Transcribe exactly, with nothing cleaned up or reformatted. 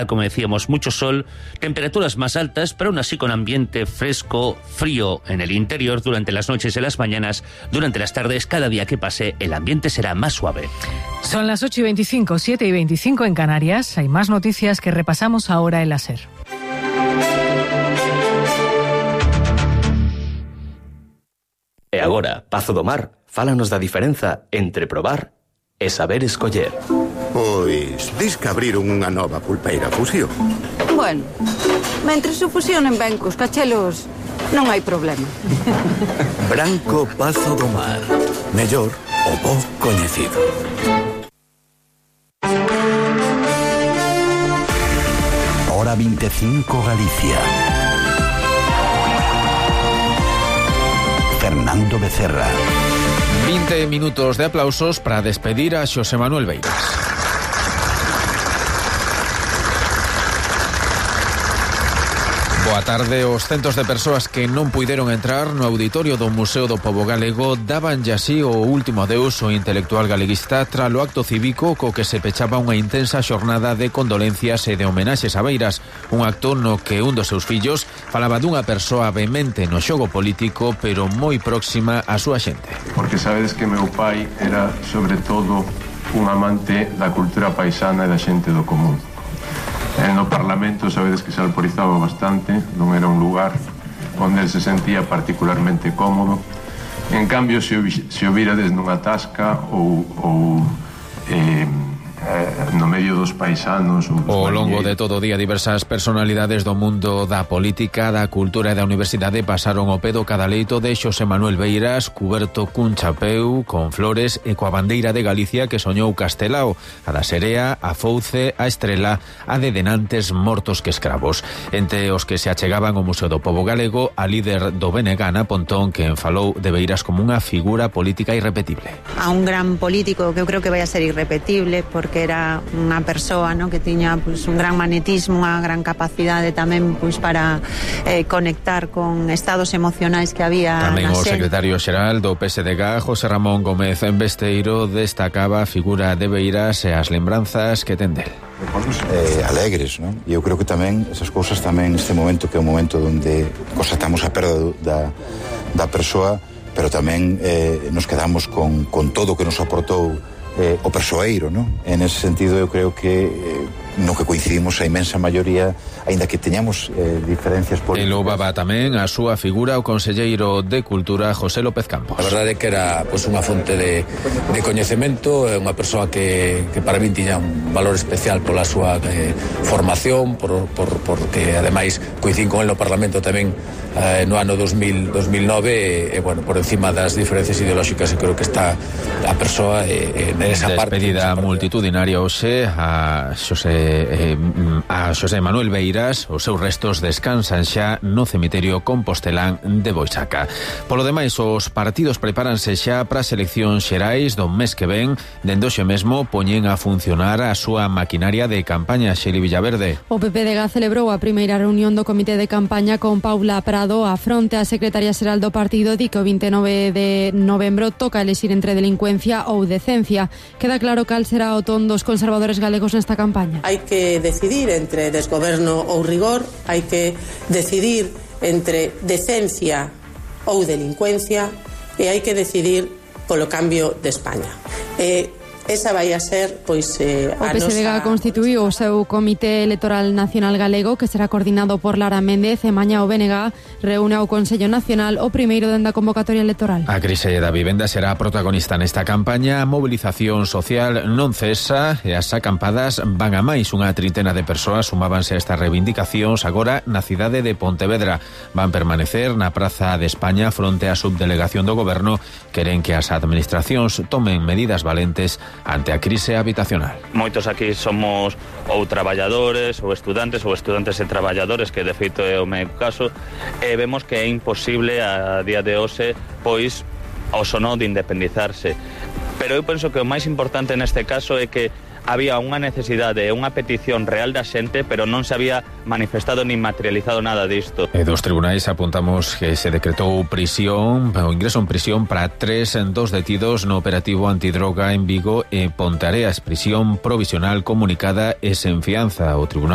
Como decíamos, mucho sol, temperaturas más altas, pero aún así con ambiente fresco, frío en el interior durante las noches y las mañanas. Durante las tardes, cada día que pase, el ambiente será más suave. Son las ocho y veinticinco, siete y veinticinco en Canarias. Hay más noticias que repasamos ahora en la SER. E agora, Pazo do Mar, fálanos da diferenza entre probar e saber escoller. Pois, dis que abriron unha nova pulpeira fusión. Bueno, mentres se fusionen ben cos cachelos, non hai problema. Branco Pazo do Mar. Mellor o bo coñecido. Hora veinticinco Galicia. Fernando Becerra. veinte minutos de aplausos para despedir a Xosé Manuel Beiras. Boa tarde. Os centos de persoas que non puideron entrar no auditorio do Museo do Pobo Galego daban ya así o último adeus ao intelectual galeguista tralo acto cívico co que se pechaba unha intensa xornada de condolencias e de homenaxes a Beiras, un acto no que un dos seus fillos falaba dunha persoa vehemente no xogo político, pero moi próxima á súa xente. Porque sabedes que meu pai era, sobre todo, un amante da cultura paisana e da xente do común. En no Parlamento sabedes que se alporizaba bastante, non era un lugar onde se sentía particularmente cómodo. En cambio, se o, se o virades nunha tasca ou, ou eh, no medio dos paisanos ou dos ao longo de todo o día, diversas personalidades do mundo da política, da cultura e da universidade pasaron o pedo cada leito de Xosé Manuel Beiras, cuberto cun chapeu, con flores e coa bandeira de Galicia que soñou Castelao, a da Serea, a Fouce, a Estrela, a de denantes mortos que escravos. Entre os que se achegaban ao Museo do Pobo Galego, a líder do B N G, Ana Pontón, que falou de Beiras como unha figura política irrepetible. A un gran político que eu creo que vai a ser irrepetible, porque que era unha persoa, ¿no?, que tiña pues, un gran magnetismo, unha gran capacidade tamén pues, para eh, conectar con estados emocionais que había. Tamén o secretario xeral do P S D G, José Ramón Gómez Besteiro, destacaba a figura de Beiras e as lembranzas que ten del. Eh, alegres, non? E eu creo que tamén esas cousas tamén neste momento, que é un momento onde constatamos a perda da, da persoa, pero tamén eh, nos quedamos con, con todo o que nos aportou Eh, o persoeiro, non? En ese sentido eu creo que eh, no que coincidimos a inmensa maioría, aínda que teñamos eh, diferencias políticas. E louvaba tamén a súa figura o conselleiro de Cultura, José López Campos. A verdade é que era pues, unha fonte de, de coñecemento, unha persoa que, que para min tiña un valor especial pola súa eh, formación, por, por, porque ademais coincidín con el no Parlamento tamén eh, no ano dos mil nove e, e bueno, por encima das diferencias ideolóxicas, eu creo que está a persoa eh, nesa parte. Despedida multitudinaria hoxe a Xosé eh, a Xosé Manuel Beiras. Os seus restos descansan xa no cemiterio compostelán de Boixaca. Polo demais, os partidos prepáranse xa para as eleccións xerais do mes que ven. Dende hoxe mesmo poñen a funcionar a súa maquinaria de campaña. Xeli Villaverde. O P P D G celebrou a primeira reunión do comité de campaña con Paula Prado a fronte. A secretaria xeral do partido di que o vinte e nove de novembro toca elexir entre delincuencia ou decencia. Queda claro cal será o ton dos conservadores galegos nesta campaña. Hai que decidir entre desgoberno ou rigor, hai que decidir entre decencia ou delincuencia e hai que decidir polo cambio de España. E esa vai a ser, pois, eh, a nosa... O P S D G constituíu o seu Comité Electoral Nacional Galego, que será coordinado por Lara Méndez, e mañá o B N G reúne ao Consello Nacional o primeiro dende a convocatoria electoral. A crise da vivenda será protagonista nesta campaña. A mobilización social non cesa e as acampadas van a máis. Unha trintena de persoas sumábanse a estas reivindicacións agora na cidade de Pontevedra. Van permanecer na Praza de España fronte á subdelegación do Goberno. Queren que as administracións tomen medidas valentes ante a crise habitacional. Moitos aquí somos ou traballadores ou estudantes ou estudantes e traballadores, que de feito é o meu caso, e vemos que é imposible a día de hoxe pois o sono de independizarse. Pero eu penso que o máis importante neste caso é que había unha necesidade e unha petición real da xente, pero non se había manifestado ni materializado nada disto. E dos tribunais apuntamos que se decretou prisión, o ingreso en prisión para tres dos detidos no operativo antidroga en Vigo e Ponteareas, prisión provisional comunicada e sen fianza. O tribunal